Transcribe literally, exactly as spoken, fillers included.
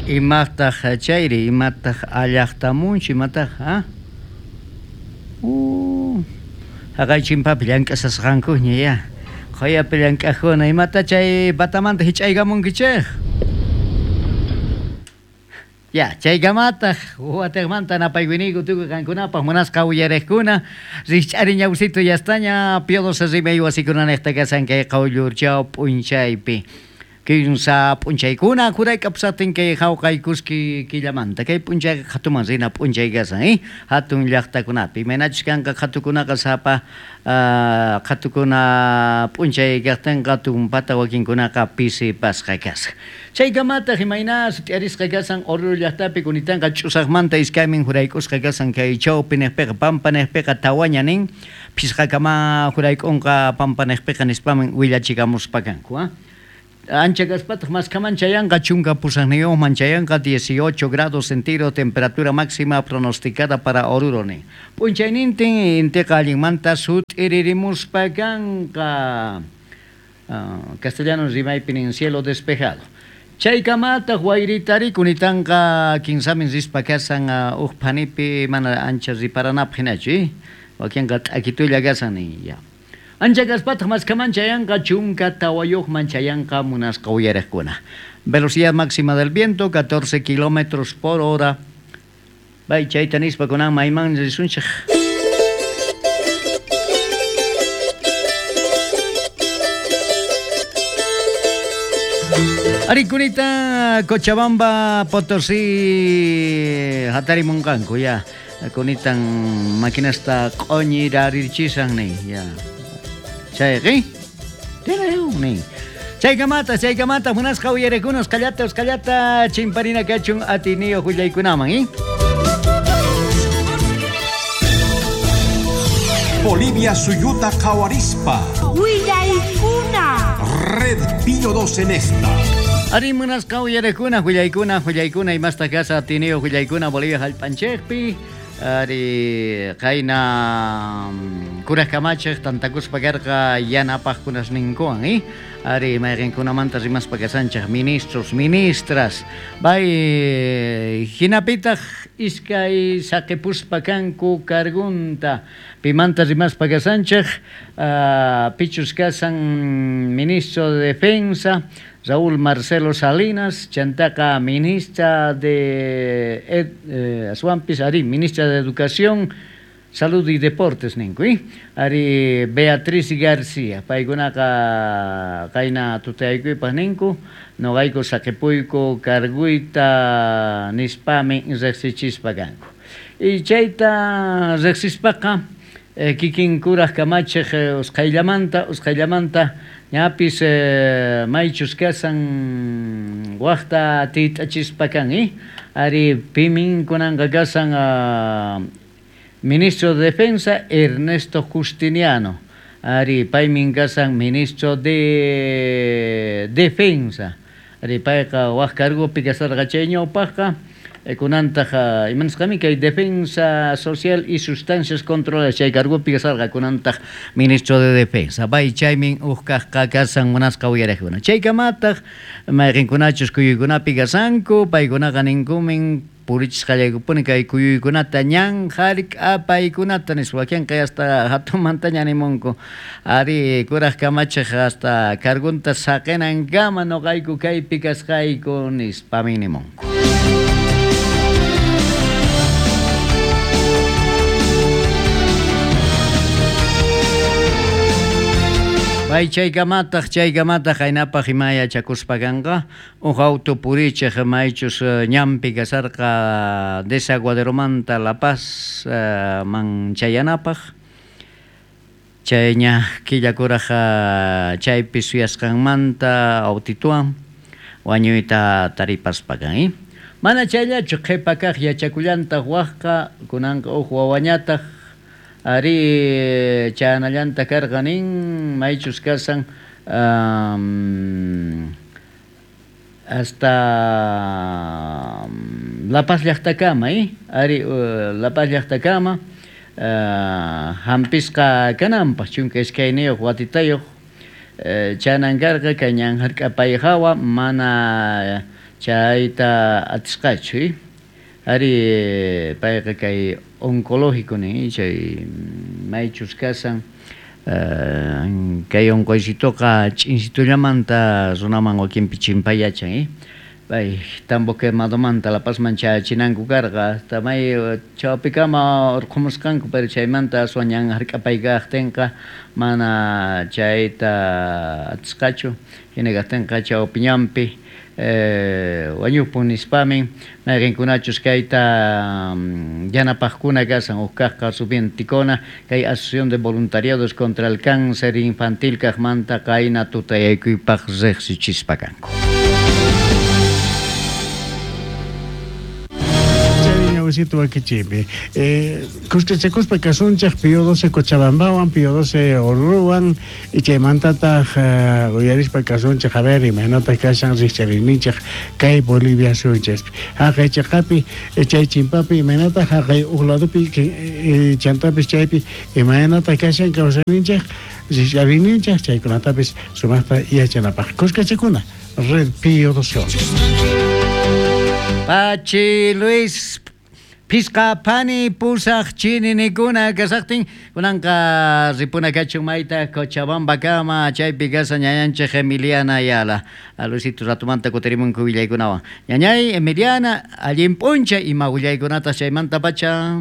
Imataq chayri, imataq allaqtamunchu, imataq, ha? Uh, haqay chimpapi llank'asasqankuña ya. Qhayapi llank'aqkuna, imata chay patamanta hich'aykamunkichik? Ya, chaykamataq wateqmanta napaykuyniku tukuy qankunapaq munasqa uyariqkuna, rikch'ari ñawsito yastaña Pío doce rimay wasikunanejta kasan kay qawllurchaw p'unchaypi. Kinsa p'unchaykuna jurayk'apusaqtin kay hawqay kuski killamanta kay p'unchayqa qhatuman rina p'unchay kasan, eh? Hatun llaqtakunapi imaynachus kanqa qhatukunaqa sapa uh, qhatukuna p'unchay kaqtinqa tumpata wakinkunaqa pisipasqa kasan. Chaykamataq imayna sut'iarisqa kasan Oruro llaqtapi kunitanqa ch'usaqmanta iskaymin jurayk'usqa kasan kay chawpi niqpiqa pampa niqpiqa tawaña nin phisqakama jurayk'unqa pampa niqpiqa nispaman willachikamuspa kanku, ha? Ancha kaspataq maskaman chayanqa chunka pusaqniyuqman chayanqa dieciocho grados centígrados temperatura máxima pronosticada para Oruro nin. P'unchaynintin intiqa allinmanta sut'iririmuspa kanqa. Uh, castellano rimaypi nin cielo despejado. Chaykamataq wayritari kunitanqa kinsamin rispa kasan uh, uj phanipi mana ancha riparanapaq hinachu, eh? Wakinqa t'akitulla kasan nin ya. Ancha kaspataq maskaman chayanqa chunka tawayuqman chayanqa munasqa uyariqkuna. Velocidad máxima del viento catorce kilómetros por hora. Bay chayta nispa kunan mayman risunchik. Arikunita Cochabamba Potosí hatarimunqanku ya. Kunitan maquinasta q'uñirarirchisan nin ya. Chayqi nin. Chaykamata, chaykamata munasqa uyariqkuna usqallata usqallata chimparina kachun atiniyuq willaykunaman, eh? Bolivia suyuta qhawarispa. Willaykuna. Red Pío doce nesta. Ari munasqa uyariqkuna willaykuna willaykuna imasta kasa atiniyuq willaykuna Bolivia hallp'anchikpi. Ari qayna kuraj kamachiq tantakuspa karqa yanapaqkunasninkuwan, eh? Ari mayqinkunamanta rimaspa kasanchik ministros, ministras. Bay hinapitaq iskay saqipuspa kanku cargunta. Pimanta rimaspa kasanchik, uh, pichus kasan ministro de Defensa Raúl Marcelo Salinas, chantaqa ministra de ed, eh, Asuampis, ari, ministra de Educación, Salud y Deportes ninku, eh? Ari Beatriz García, paykunaqa qayna tutayaykuypaq ninku, noqayku saqipuyku carguyta nispami riqsichispa kanku. Y chayta riqsispaqa eh, kikin kuraj kamachiq eh, usqhayllamanta, usqhayllamanta ñapis eh, maychus kasan waqta tit'achispa kan, eh? Ari pimin kunanqa kasan uh, ministro de Defensa Ernesto Justiniano. Ari paymin kasan ministro de Defensa. Ari payqa waq cargopi kasarqa chay ñawpaqqa kunantaq imanasqami kay Defensa Social y Sustancias Controladas chay cargopi kasarqa kunantaq ministro de Defensa. Bay chaymin uj kaqqa kasan munasqa uyariqkuna. Chaykamataq mayqinkunachus kuyuykunapi kasanku paykunaqa ninkumin purichisqallaykupuni kay kuyuykunata ñan hark'apaykunata nispa wakinqa hasta hatunmantaña nimunku. Ari kuraj kamachiq hasta cargunta saqinankama noqayku kaypi kasqayku nispami nimunku. Bay chaykamataq chaykamataq qaynapaq ima yachakuspa kanqa uj auto purichiq maychus ñanpi kasarqa Desaguaderomanta La Paz uh, man chayanapaq chayña killakuraj chaypi suyasqanmanta autituwan wañuyta taripaspa kan, eh? Mana chayllachu qhipa kaq yachakullantaq waqqa kunanqa uj wawañataq ari chanallanta karqa nin maychus kasan um, hasta La Paz llaqtakama, eh? Ari uh, La Paz llaqtakama uh, hampisqa kananpaq chunka iskayniyuq watitayuq uh, chanan karqa kay ñan hark'apay hawa mana Chayta atisqachu, ari payqa kay oncológico nin chay maychus kasan kay oncoycitoqa ch'insitullamanta runaman wakinpi chimpayachan, eh? Pay tambo quemadomanta La Pazman chayachinanku karqa, hasta may chawpikama urqhumusqanku, pero chaymanta aswan ñan hark'apay kaqtinqa mana chayta atisqachu, hina kaqtinqa chawpi ñanpi eh, wañupun nispamin mayqinkunachus kayta yanapaqkuna kasan huk kaqqa Rubén Ticona kay Asociación de Voluntariados contra el Cáncer Infantil kaqmanta qayna tutayaykuypaq riqsichispa kanku. Wakichipi eh, kuskachakuspa kasunchej Pío doce Cochabambawan, Pío doce Oruruwan y chaymantataq uh, uyarispa kasunchej a ver imaynataq kashan rikchariyninchej kay Bolivia suyunchaspi haqay chaqapi chay chimpapi imaynataq haqay uq ladopi eh, chantapis chaypi imaynataq kashan kawsayninchej rikchariyninchej chaykunatapis sumaqta yachanapaq kuskachakuna Red Pío doce. Pachi Luis Pisqa pani pusaq chininikuna kasaqtin kunanqa ripuna kachun mayta Cochabamba kama chaypi kasa ñañanchej Emiliana Ayala. Luisito ratumanta kutirimunku willaykunawan. Ñañay Emiliana allin p'unchay ima willaykunata chaymanta pacha.